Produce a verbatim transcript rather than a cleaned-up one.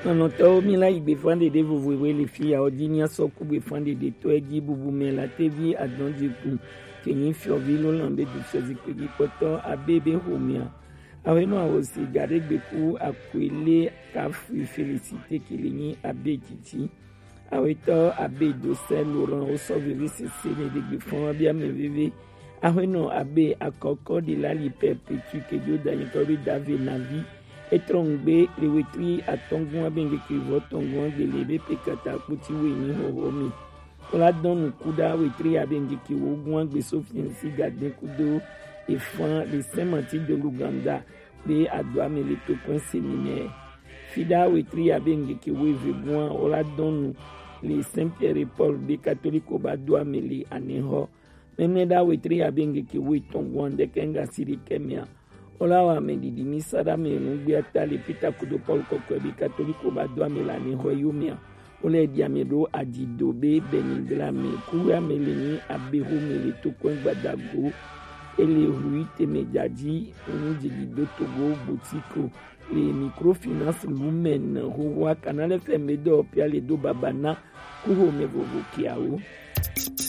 Nɔnɔtɔwo, mi la yi gbefan ɖeɖe vovovoe le fi ya ɔdi, mi asɔ ku gbefan ɖeɖe tɔ edi bubu mɛ la tevi adɔn dikun ke nyi fiɔvi lo lan be du fiɔ zikpe gi kpɔtɔ abe be homia. Awe no awo si gade gbeku akwele kafu Félicité ke le nyi abe titi. Awetɔ abe Dosɛ Laurent wosɔ vivi sese ne ɖe gbefan wa bia mɛ veve. Awe no abe akɔkɔ de la li Perpétue ke jo da nyitɔ be dave navi. Etrɔ ŋgbe le wetri atɔngua be ŋgeke vɔ tɔngua gbe le be pe kata kputi we ni hoho mi. Kola dɔn nuku da wetri abe ŋgeke wo gua gbe so fiansi gaden kudo efan le Saint Martin de l'Ouganda be adoa me le tokpɛn seminɛ. Fida wetri abe ŋgeke wo eve gua wola dɔn nu le Saint Pierre et Paul be katoliko ba doa me le anehɔ. Mɛmɛ da wetri abe ŋgeke wo etɔn gua ŋdɛkɛ ŋga si ɖe kɛ mea. Wola wa me ɖiɖi mi sa ɖa me nugbe ata le Peter kudo Paul kɔkɔe be katoliko ba doa me le anehɔ yo mea. Wole ɖi ame ɖo adzido be Benigla me. Kuwe ame le nyi abe xome le tokɔe gbadago. Ele hlui teme dzadzi nu dzidzi do togo butiko le microfinance lumen xoxoa Canal F M be dɔ pia le do baba na kuxome vovo kiawo.